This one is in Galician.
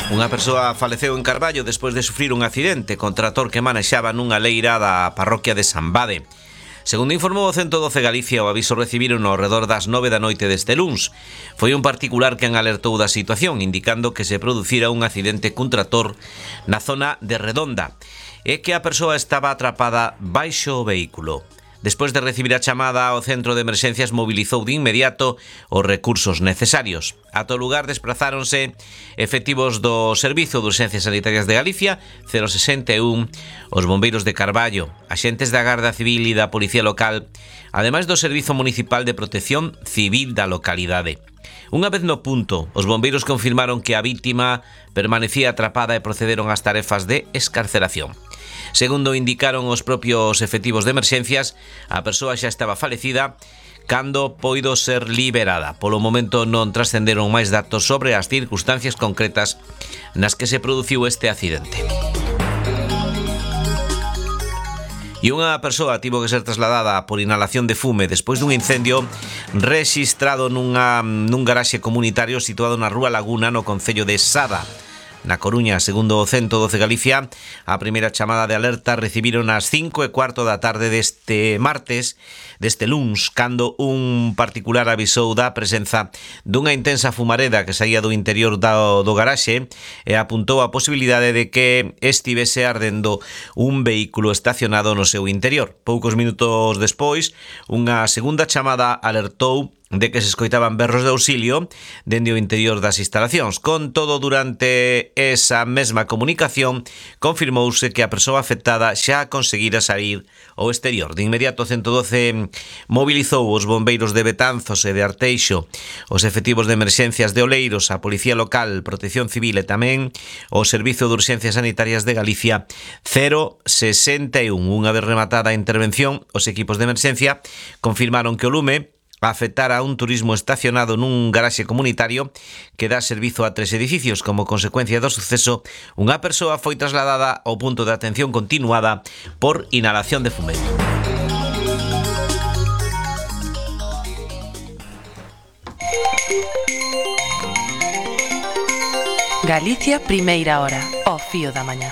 Unha persoa faleceu en Carballo despois de sufrir un accidente con trator que manexaba nunha leira da parroquia de San Bade. Segundo informou o 112 Galicia, o aviso recibiron ao redor das 9 da noite deste luns. Foi un particular quen alertou da situación, indicando que se producira un accidente cun trator na zona de Redonda e que a persoa estaba atrapada baixo o vehículo. Despois de recibir a chamada, o centro de emerxencias mobilizou de inmediato os recursos necesarios. Ata o lugar desprazáronse efectivos do Servizo de Urxencias Sanitarias de Galicia, 061, os bombeiros de Carballo, axentes da Garda Civil e da Policía Local, ademais do Servizo Municipal de Protección Civil da localidade. Unha vez no punto, os bombeiros confirmaron que a vítima permanecía atrapada e procederon ás tarefas de escarceración. Segundo indicaron os propios efectivos de emerxencias, a persoa xa estaba falecida cando poido ser liberada. Polo momento non trascenderon máis datos sobre as circunstancias concretas nas que se produciu este accidente. E unha persoa tivo que ser trasladada por inhalación de fume despois dun incendio rexistrado nun garaxe comunitario situado na Rúa Laguna, no concello de Sada, na Coruña. Segundo o 112 Galicia, a primeira chamada de alerta recibiron ás 5:15 da tarde deste luns, cando un particular avisou da presenza dunha intensa fumareda que saía do interior do garaxe e apuntou a posibilidade de que estivese ardendo un vehículo estacionado no seu interior. Poucos minutos despois, unha segunda chamada alertou de que se escoitaban berros de auxilio dende o interior das instalacións. Con todo, durante esa mesma comunicación confirmouse que a persoa afectada xa conseguira sair ao exterior. De inmediato, 112 mobilizou os bombeiros de Betanzos e de Arteixo, os efectivos de emerxencias de Oleiros, a Policía Local, Protección Civil e tamén o Servizo de Urxencias Sanitarias de Galicia 061. Unha vez rematada a intervención, os equipos de emerxencia confirmaron que o lume afectara a un turismo estacionado nun garaxe comunitario que dá servizo a 3 edificios. Como consecuencia do suceso, unha persoa foi trasladada ao punto de atención continuada por inhalación de fume. Galicia, primeira hora, ao fío da mañá.